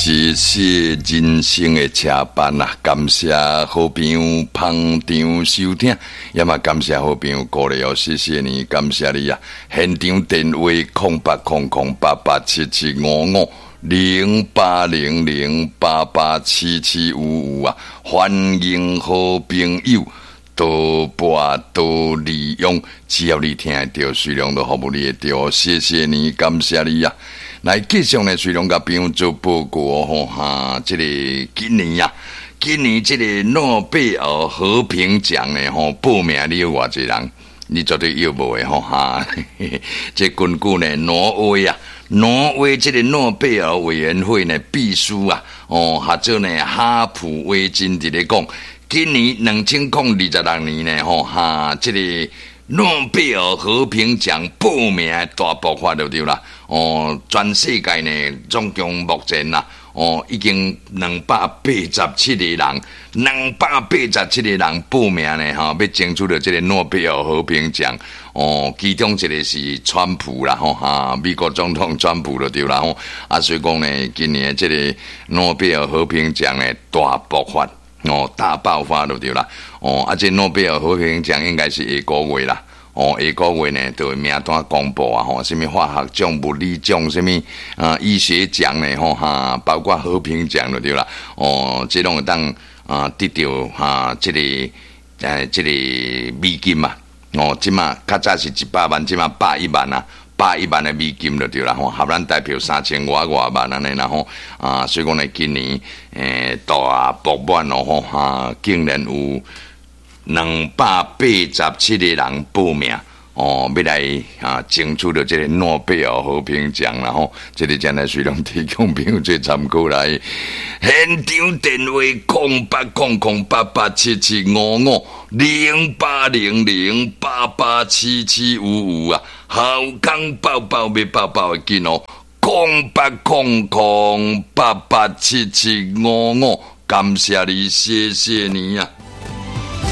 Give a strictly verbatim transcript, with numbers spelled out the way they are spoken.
是是人生的车班啊！感謝好朋友捧場收聽，也嘛感謝好朋友鼓勵哦，謝謝你，感謝你啊！現場電話空八空空八八七七五五零八零零八八七七五五啊！歡迎好朋友多撥多利用，只要你聽會著，水龍都服務你會著，謝謝你，感謝你啊！來繼續呢，水龍共朋友做報告吼哈，這個今年啊，今年這個諾貝爾和平獎呢吼，報名你有偌濟人？你絕對約無的吼哈。這根據呢，挪威啊，挪威這個諾貝爾委員會呢，秘書啊，哦，合做呢哈普威金佇咧講，今年兩千空二十六年呢吼哈，這個諾貝爾和平獎報名大爆發就對啦。哦，全世界呢，總共目前啦，哦，已經兩百八十七個人，兩百八十七個人報名呢，吼，欲爭取著這個諾貝爾和平獎。哦，其中一個是川普啦，吼哈，美國總統川普就對啦，吼，啊，所以講呢，今年這個諾貝爾和平獎呢，大爆發，哦，大爆發就對啦。哦，啊，這諾貝爾和平獎應該是下個月啦。哦，下個月呢，就會名單公布啊！吼，啥物化學獎、物理獎、啥物啊醫學獎呢？吼哈，包括和平獎就對啦。哦，這攏會當啊得著哈，這個呃這個美金嘛。哦，這馬較早是一百萬，這馬百一萬啊，百一萬的美金就對啦。吼，合咱台票三千外外萬按呢啦吼。啊，所以講呢，今年欸大爆滿哦吼哈，竟然有兩百八十七個人報名哦，欲來啊爭取著這個諾貝爾和平獎啦吼，這個真來隨攏提供朋友做參考來。現場電話空八空空八八七七五五零八零零八八七七五五啊，好康報報欲報報會緊哦，空八空空八八七七五五，感謝你，謝謝你啊！